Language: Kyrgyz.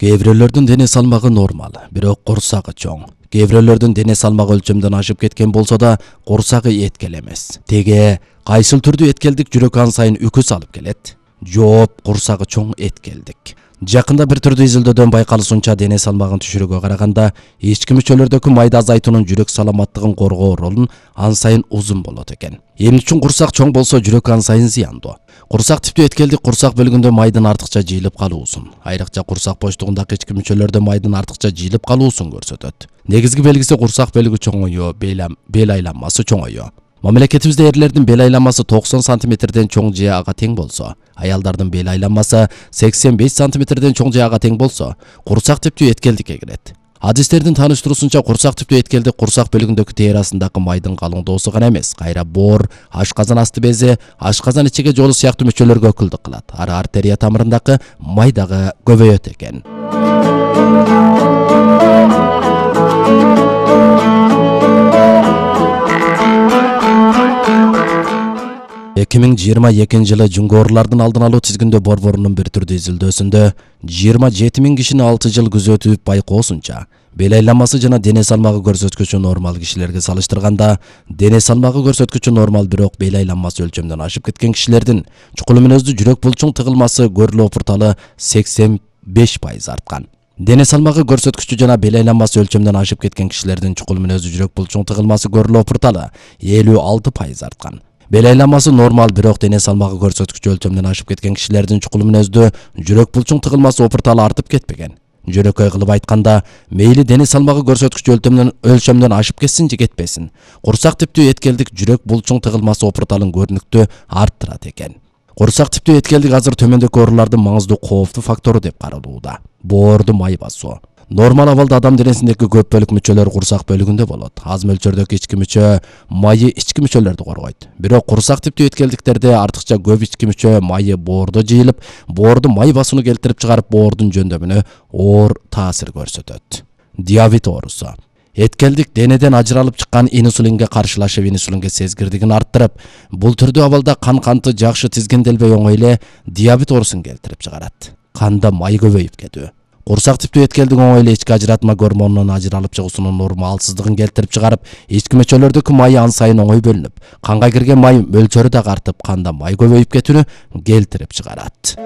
Кээ бирөөлөрдүн дене салмагы нормал, бирок курсагы чоң. Кээ бирөөлөрдүн дене салмагы өлчөмдөн ашып кеткен болсо да, курсагы эткел эмес. Теге кайсыл түрдүү эткелдик жүрөк ан сайын үкүс алып келет? Жооп, курсагы чоң эткелдик. Жакында бир түрдүү изилдөөдөн байкалышынча дене салмагын түшүрүүгө караганда ички мүчөлөрдөгү майда азайтуунун жүрөк саламаттыгын коргоо ролун ан сайын узун болот экен. Эмне үчүн курсак чоң болсо жүрөк ан сайын зыяндуу? Курсак типтүү эткелдик курсак бөлүгүндө майдын артыкча жыйылып калуусун, айрыкча курсак боштугундагы ички мүчөлөрдө майдын артыкча жыйылып калуусун көрсөтөт. Негизги белгиси курсак бөлүгү чоңоюу, бел айланмасы чоңоюу. Мамлекетибизде эрлердин бел айланмасы 90 сантиметрден чоң же ага тең болсо, аялдардын бел айланмасы 85 сантиметрден чоң же ага тең болсо, курсак типтүү эткелдикке кирет. Адистердин тааныштыруусунча курсак типтүү эткелдик курсак бөлүгүндөгү терасындагы майдын калыңдоосу гана эмес, кайра боор, ашказан асты бези, ашказан ичеге жолу сыяктуу мүчөлөргө өкүлдүк кылат. Ары артерия тамырындагы май дагы көбөйөт экен. 2022 жылы Жүнгө оорулардын алдын алуу тизгиндөө борборунун бир түрдүү изилдөөсүндө 27 000 кишини 6 жыл күзөтүп байкоосунча бел айланмасы жана дене салмагы көрсөткүчү нормал кишилерге салыштырганда дене салмагы көрсөткүчү нормал, бирок бел айланмасы өлчөмдөн ашып кеткен кишилердин чукул мүнөздүү жүрөк булчуң тыгылмасы көрүлүү опурталы 85% арткан. Дене салмагы көрсөткүчү жана бел айланмасы өлчөмдөн ашып кеткен кишилердин чукул мүнөздүү жүрөк булчуң тыгылмасы көрүлүү опурталы 56% арткан. Бел айланмасы нормал, бирок дене салмагы көрсөткүчү өлчөмдөн ашып кеткен кишилердин чукул мүнөздүү жүрөк булчуң тыгылмасы опурталы артып кетпеген. Жөнөкөй кылып айтканда, мейли дене салмагы көрсөткүчү өлчөмдөн ашып кетсин же кетпесин, курсак типтүү эткелдик жүрөк булчуң тыгылмасы опурталын көрүнүктүү арттырат экен. Курсак типтүү эткелдик азыр төмөндөгү оорулардын маңыздуу кооптуу фактору деп каралууда. Боорду май басуу. Нормал абалда адам денесиндеги көп бөлүк мүчөлөр курсак бөлүгүндө болот. Аз мөлчөрдөгү ички мүчө майы ички мүчөлөрдү коргойт. Бирок курсак типтүү эткелдиктерде артыкча көп ички мүчө майы боордо жыйылып, боорду май басууну келтирип чыгарып, боордун жөндөмүнө оор таасир көрсөтөт. Диабет оорусу. Эткелдик денеден ажыралып чыккан инсулинге каршылашып, инсулинге сезгирдигин арттырып, бул түрдүү абалда кан канты жакшы тизгинделбей оңой эле диабет оорусун келтирип чыгарат. Канда май көбөйүп кетүү. Курсак типтүү эткелдик оңой эле ички ажыратма гормонунун ажыралып чыгуусунун нормалсыздыгын келтирип чыгарып, ички мүчөлөрдөгү май ан сайын оңой бөлүнүп, канга кирген май мөлчөрү дагы артып, канда май көбөйүп кетүүнү келтирип чыгарат.